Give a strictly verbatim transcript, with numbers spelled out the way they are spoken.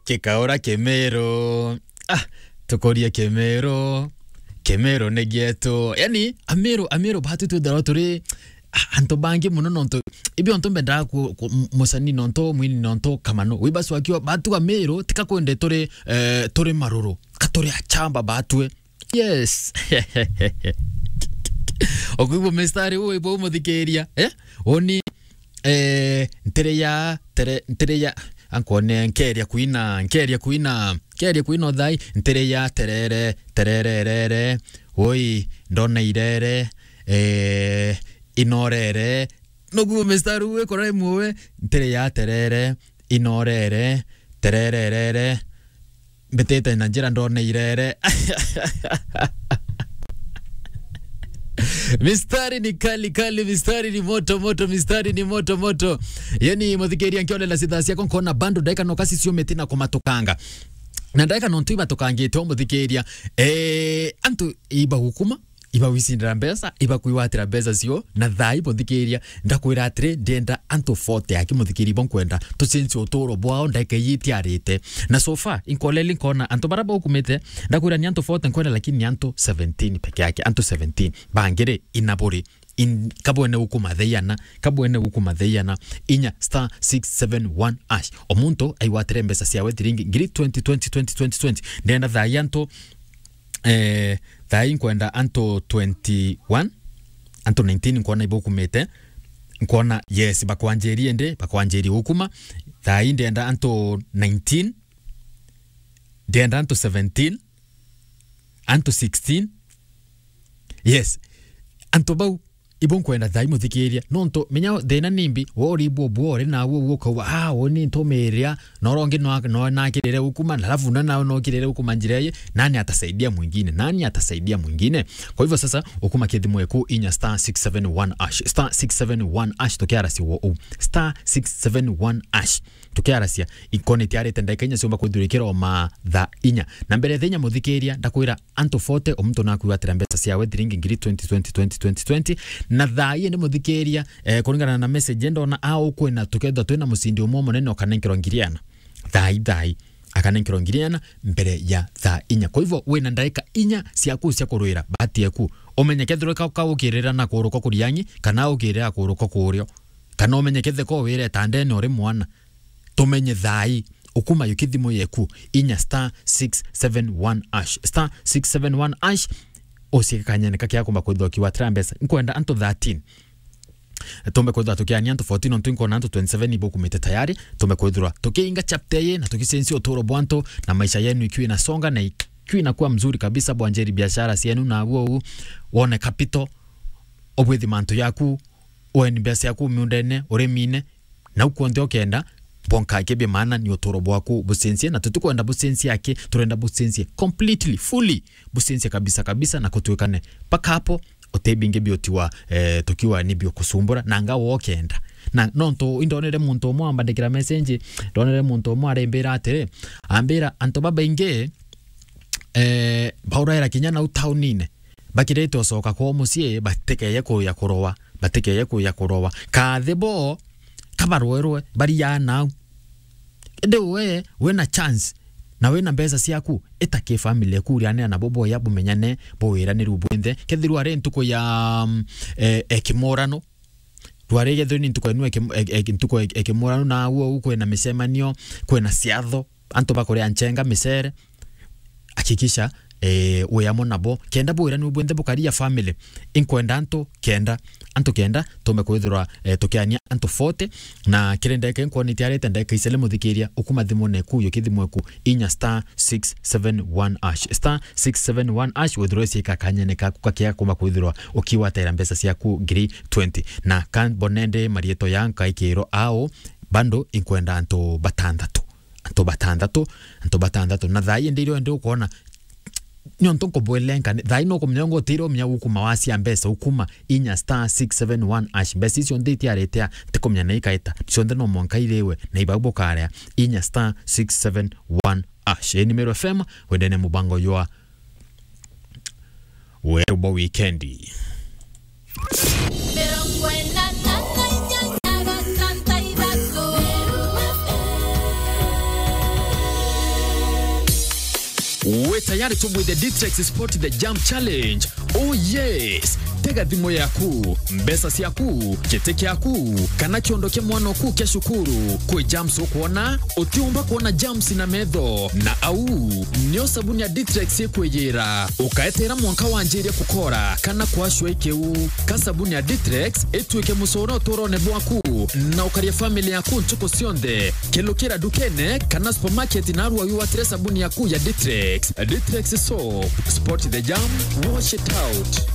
Kikaura Kimiru. Ah, tukurie Kimiru. Kimiru ni gietu. Yani, Amiru, Amiru, batu twithirwa turi, ah, antu bangi muno nontu, ibi ontu mbendaa ku, ku, m-, musani nontu, mwini nontu, kamano. Wibaswa kio, batu Amiru, tika kwende turi, eh, turi maruru. Ka turi achamba batue. Yes. Okwigua mistari uyu ibo umuthikiria, eh? Uni, eh, ntiri ya, tere, ntiri ya, ankone, nkeria kuina, nkeria kuina, nkeria kuina uthai, ntiri ya terere, terere, rere, ui, ndona irere, eh, inorere. Nokwigua mistari uyu ikora imwe, ntiri ya terere, inorere, terere, rere, mbitite na njira ndona irere. Mistari ni kali kali, mistari ni moto moto, mistari ni moto moto. Yani, muthikiria, nkionela sitha ciakwa nkona bando ndaika no kasi ciumite na kumatukanga. Na ndaika nontu ibatukangite, umuthikiria, eh, antu ibagukuma, ibagwicindira mbeca, ibakwiwatira mbeca cio, na thaa ii muthikiria, ndakwira atiri, ndienda antu forty aki muthikiria ibo nkwenda tucenjie uturo bwao ndaika ii itiarite. Na so far, inkoleli nkona antu bara baukumite, ndakwira ni antu forty nkwenda, lakini ni antu seventeen peke yake, antu seventeen. Bangiri ina buri, in, kabwene ukuma theiana, kabwene ukuma theiana, inya star six seven one hash. O muntu aiwatire mbeca ciawe thiringi ngiri twenty, twenty, twenty, twenty, twenty. Ndienda thaa ii antu Eh, thaa ii nkwenda antu twenty-one, antu nineteen nkwona ibukumite. Nkwona, yes, bakwanjirie ndi, bakwanjirie gukuma. Thaa ii ndienda antu nineteen, ndienda antu seventeen, antu sixteen. Yes, antu bau ibo nkwenda thaa ii muthikiria. Nontu menya thina nimbi, we uribwo bwore na we ukauga, "Ah, uni ntumiria, na urongi no, no nakirire ukuma, na alafu na nawe nokirire ukuma njira ii, nani atasaidia mwingine? Nani atasaidia mwingine?" Kwa hivyo sasa, ukuma kithimo eku inya star six seven one hash, star six seven one hash, tukiaracia wo u, star six seven one hash. Tukiaracia, ikoni tiarite ndagika inya ciumba kwithirwa ikiroma thaa inya. Na mbere thaa inya muthikiria, ndakwira antu forty, o muntu nakwigwatira mbeca ciawe thiringi ngiri twenty, twenty, twenty, twenty, twenty. Na thaa ii ndi muthikiria, eh, kuringana na message ndona, a ukwina tukethwa twina mucindi umwe munene ukanenkerwa ngiri ana. Thaa ii, thaa ii, akanenkerwa ngiri ana mbere ya thaa inya. Kwa hivyo, wina ndagika inya ciaku cia kurwira bahati eku. Umenye kethirwa ka, ka ukirira na kuruka kuriangi, kana ukirira kuruka kurio. Kana umenye kethe ko wire tandene uri mwana. Tumenye thaa ii, ukuma yo kithimo yeku, inya star six seven one hash. Star six seven one hash, ucike kanyene kakia kumba kwithirwa ukiwatira mbeca. Nkwenda antu thirteen. Tumbe kwithirwa tukiania antu fourteen, nontu nkona antu twenty-seven ibukumite tayari. Tumbe kwithirwa tukiinga chapter ii na tukicenjia uturo bwa antu na maisha yenu ikiwa inasonga na ikiwa inakuwa mzuri kabisa, bwanjiri biashara cienu na aguo u, wone capital, ubwithi mantu yaku, weni mbeca ciaku miundene, urimine, nau kwonthe ukenda, bwonka akibia maana ni uturo bwaku bucenjie, na tutikwenda bucenjie aki, turenda bucenjie completely, fully, bucenjie kabisa kabisa, na kutuikane mpaka hapo, uti bingi biotiwa, eh, tukiwa ni bio kusumbura, na nga wokenda. Na nontu indonere muntu umwe ambandikira message, ndonere muntu umwe arimbira atiri, ambira, antu babaingi, eh, bauraira kinya nau taunine, bakirite ucoka kwao mucii, batikeye kuya kurowa, batikeye kuya kurowa. Kathi bo, kabarwerwe, bariaa nau. Indi we, wina chance, na wina mbeca ciaku, ita ki family eku, urianira nabo boya, bumenyane, bwiraniru bwinthe. Kethirwa ari ntuku ya, mm, eh, ekimurano, rwari kethirwa ni ntuku enu eki-, e-, e-, ntuku e-, ekimurano, na au au kwina micemanio, kwina ciatho, antu bakuria nchenga, micere, hakikisha, eh, wi amwe nabo, kenda bwiraniru bwinthe bukaria family. Inkwenda antu kenda, antu kenda, tumbe kwithirwa, eh, tukiania antu forty, na kiri ndeka inkwona itiarite ndeka icele muthikiria, ukuma thimune eku, yo kithimo eku, inya star six seven one hash, star six seven one hash, withirwe ciika kanyene kaku kakia kumba kwithirwa ukiwataira mbeca ciaku ngiri twenty. Na ka mbonende marietwa ya nkaikirwo ao, bando inkwenda antu batanthatu. Antu batanthatu, antu batanthatu. Na thaa ii ndi irio ndi ukwona, nontu nkubwelenkane, thaa ii nukumenya ngo utire umenya ukuma wacia mbeca, ukuma inya star six seven one hash. Mbeca icio nthi itiarite a, ntikumenya na ikaita. Cionthe no mwanka iriwe, na ibau bukarea, inya star six seven one hash. Ii ni Meru F M, wendene mubango jwa Weru bwa wikendi. Mirongo ina na inyanya gatantu ithatu. Wi tayari tubwithe Ditrex Spot the Jam Challenge? Oh yes! Tega thimu yaku, mbeca ciaku, giti kiaku, kana kiondo kia mwana oku kia cukuru. Kwi germs ukwona? Utiumba kwona germs na metho, na au nio sabuni ya Ditrex ikwiyira. Ukaetera mwanka wanjirie kukora kana kwashwa ikiu. Ka sabuni ya Ditrex ituike mucoro uturone bwaku, na ukaria family yaku ntuku cionthe. Kelukira dukene kana supermarket narua wigwatire sabuni yaku ya Ditrex. Ditrex soap, spot the jam, wash it out.